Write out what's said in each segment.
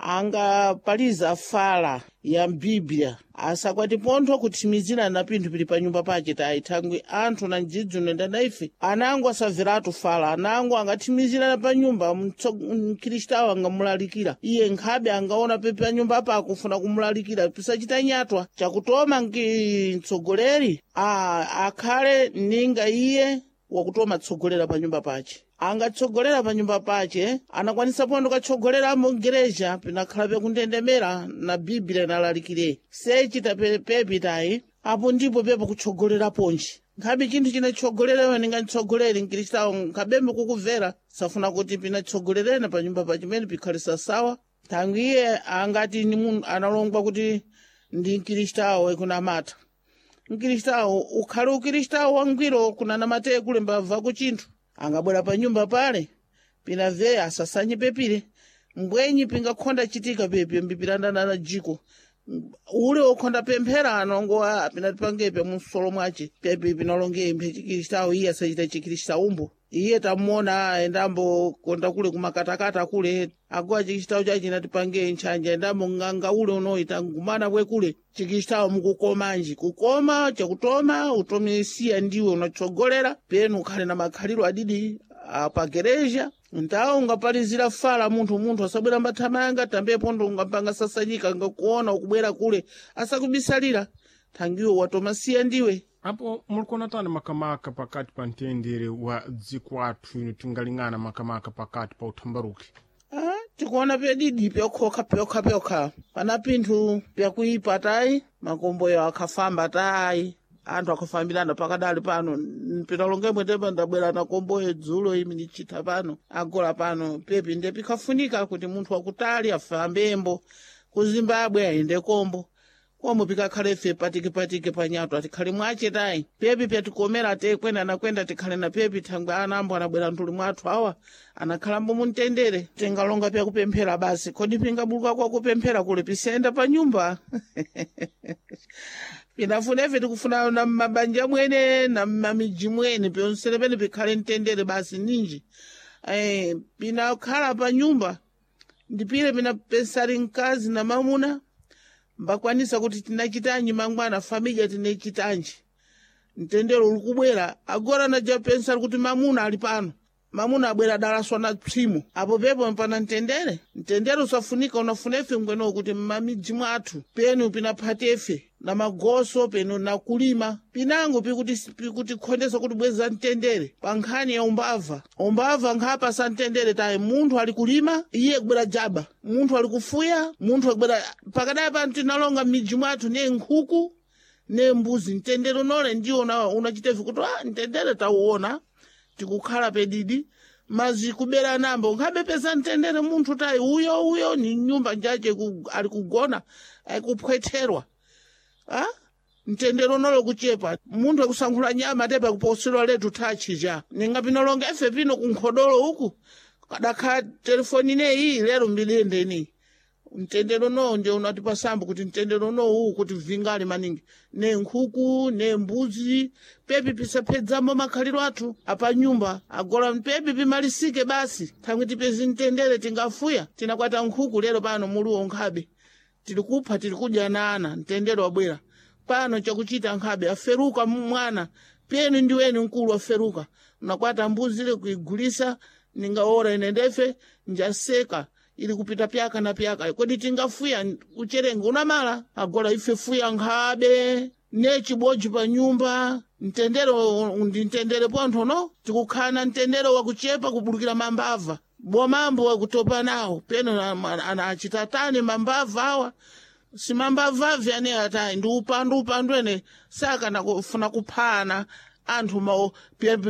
Angapaliza fala ya mbiblia asakwati pontho kuthimizira na pinthu pili pa nyumba pace tayi, thangwi anthu na mdzidzi unoenda na ife anango asamveratu fala, anango angathimizirana pa nyumba mkhristawo angamulalikira iye nkhabe angaona pepe pa nyumba apa akufuna kumulalikira pisachita nyatwa chakutoma nki mtsogoleri akhale ninga iye wakutoma tsogolera pa nyumba pace, angatsogolera pa nyumba pace anakwanisa pondo katsogolera mugereja pinakhala pekundendemera na biblia nalalikire sechita pepitayi apo ndipo pepo kutsogolera ponji nkhabe chinthu chinatsogolera ninga mtsogoleri mkristawo nkhabembe kukubvera safuna kuti pinatsogolerena pa nyumba pachimene pikhale sasawa, thangwi iye angati ni munthu analongwa kuti ndi mkristawo ekunamata mkristawo ukhale ukristawo wangwiro kunanamate kulemba bva chinthu angabwera pa nyumba pale pinamve asasanye pepire mbwenyi pingakhonda chitika pepe mbipirandana na jiko ule wokhonda pemphera anongo pinatipangepe munsolo mwace pepe pinalonge mphe chikristawo iye asachita chikristaumbo iye tamuona endambo konda kule kumakatakata kule agowa chikristawo chache inatipange ntchanja endambo nganga ule unoita ngumana bwe kule chikristawo mukukomanji kukoma chakutoma utomesiya ndiwe unatsogolera penu ukhale na makhaliro adidi apagereja ntawo ungapalizira fala munthu munthu asabwera mbathamayanga tambe pondo ungampanga sasanyika ngakuona ukubwera kule asakubisalira thangiwo watomasiya ndiwe. Apo mulikuona tani makamaka pakati pa mtendere wa dziko athu ino tingaling'ana makamaka pakati pa uthambaruki? Ah, tikuona pedidi pyokhoka pyokha pyokha pana pinthu pyakuipa tayi makomboyo akhafamba tayi anthu akhafambirana pakadali pano pinalongemwe tepa ndabwera na komboyo dzulo imi ndichitha pano agola pano pepi nde pikhafunika kuti munthu wakutali afambembo ku Zimbabwe ayende kombo komo pikakhale ife patikipatiki panyato atikhale mwace tayi pepi pyatikomera te kwenda nakwenda tikhale na pepi thangwe anambo anabwera ntuli mwathu awa anakhalambo mumtendere tingalonga pyakupemphera basi kodi pingabuluka kwakupemphera kule pisiyenda pa nyumba pinafuna ife tikufuna na mabanja mwene na mamiji mwene pyonsene pene pikhale mtendere basi ninji pinakhala pa nyumba ndipile pinapesali mkazi na mamuna mbakwanisa kuti tinachitanji mangwana familia tinachitanji mtendere uli kubwera agora najapensali kuti mamuna ali pano mamuna abwera dalaswa na psimo apo pepo pana mtendere mtendere usafunika unafuna ife ngweno kuti mmamidzi mwathu penu pinaphate ife na magoso penu na kulima pinango pikutikhondesa kuti bweza mtendere pa nkhani ya umbava umbava nkhapa sa mtendere tayi munthu ali kulima iye kubwera jaba munthu ali kufuya munthu akubwera pakadai pano tinalonga m'midzi mwathu ne nkhuku ne mbuzi mtendere unole ndiwo unachitevi kuti mtendere tauona tikukhala pedidi mazi kubera nambo nkhabe peza mtendere munthu tayi uyo uyo ni nyumba njache ali kugona akuphwetherwa mtendere unolo kuchepa munthu akusankhula nyama tepa kuposedwa letu tachija ninga pinolonga ife pino kunkhodolo uku kadakhala telefoni ineyi lero mbilendeni mtendere unowo ndio unatipasambo kuti mtendere unowo uwu kuti vingali maningi ne nkhuku ne mbuzi pepi pisaphedzamo makhaliro athu apanyumba agola pepi pimalisike basi thangwi tipezi mtendere tingafuya tinakwata nkhuku lero pano muluwo nkhabe tili kupha tili kudya na ana mtendere wabwera pano chakuchita nkhabe aferuka mwana penu ndiweni mkulu aferuka unakwata mbuzi ile kuigulisa ningaora ine ndefe njaseka ili kupita pyaka na pyaka kodi tingafuya ucherenga unamala agola ife fuya nkhabe ne chibodzi pa nyumba mtendere ndi mtendere pontho no tikukhala mtendere wakuchepa kubulukira mambava bomambo wakutopa nawo peno anachitatani mambava awa simambavavi ane atayi ndi upandu upandu ene sakana kufuna kuphana anthu mawo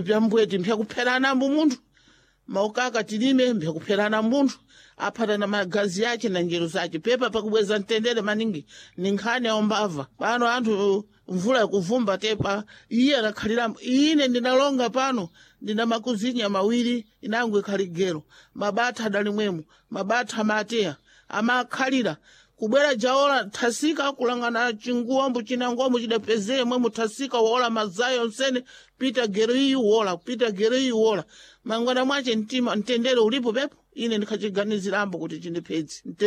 pyambweti mphyakupherana ambu munthu maukaka tilime mphakupherana munthu aphatana magazi ache na njero zache pepa pakubweza mtendere maningi ni nkhani ya umbava pano anthu mvula ikuvumba tepa iye anakhalira ine ndinalonga pano ndina makuzinya mawiri inango ikhali gero mabatha adali mwemo mabatha amateya amakhalira kubwera jaola thasika kulangana chinguwambo chinangombo chidapezeye mwemo thasika wola mazayo onsene pita gero iyi wola pita gero iyi wola mangwana mwache mtima mtendere ulipo pepo ine ndikhachiganizirambo kuti chindipedzi.